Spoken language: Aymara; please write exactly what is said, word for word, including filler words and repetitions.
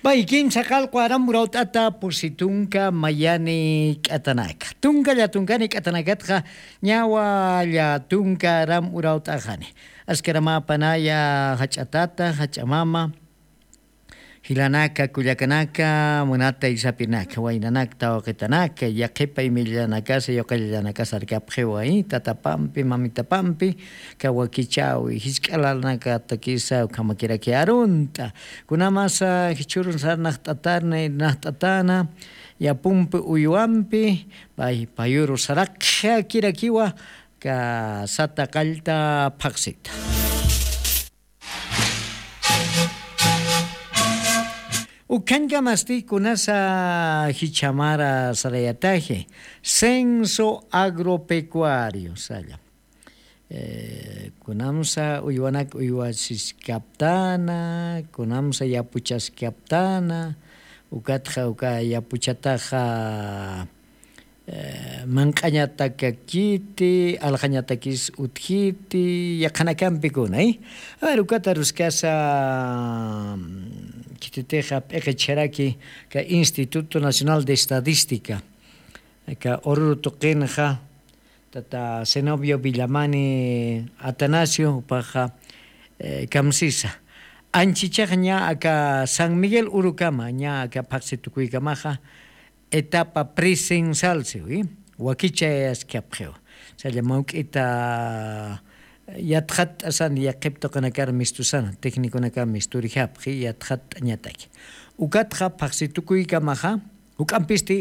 Pay kimsa qalqu aram urawt'ata pusi tunka mayani k'atanaka tunka llatunkani k'atanakatxa ñawa llatunka aram urawt'axani. Askaramäpanaya jach'atata jach'amama jilanaka kullakanaka munata isapirinaka waynanakta waqitanak yaqhipa imillanakasa yuqillanakasa arkapxiwa tatapampi mamitapampi kawakichawi jisk'alanakatakisa ukhamakiraki arunt'a. Kunamasa jichhürun sarnaqt'atarna irnaqt'atana yapumpi uywampi paypayuru saraqxakirakiwa kasata qallta phaqsita. Ukhañkamasti kunasa jichhamara sarayataji censo agropecuario salla. Kunamsa uywanak uywasiskaptana kunamsa yapuchaskaptana ukatxa uka yapuchataxa manq'añatakakiti alqañatakis utjiti yaqhanakampikuna. Aver ukata ruskasa khititixa p'iqichjaraki ka instituto nacional de estadística ka ururu tuqinxa tata cenobio villamani atanasio upaxa kamsisa anchichax ña aka san miguel urukama ña aka phaqsi tukuykamaxa etapa presensal siwi wakichayaskapxiw. Salla mawk'ita yatxatt'asan yaqhip tuqinakar mistusana tecniconakar misturjapxi yatxatt'añataki ukatxa phaqsi tukuykamaxa juk'ampisti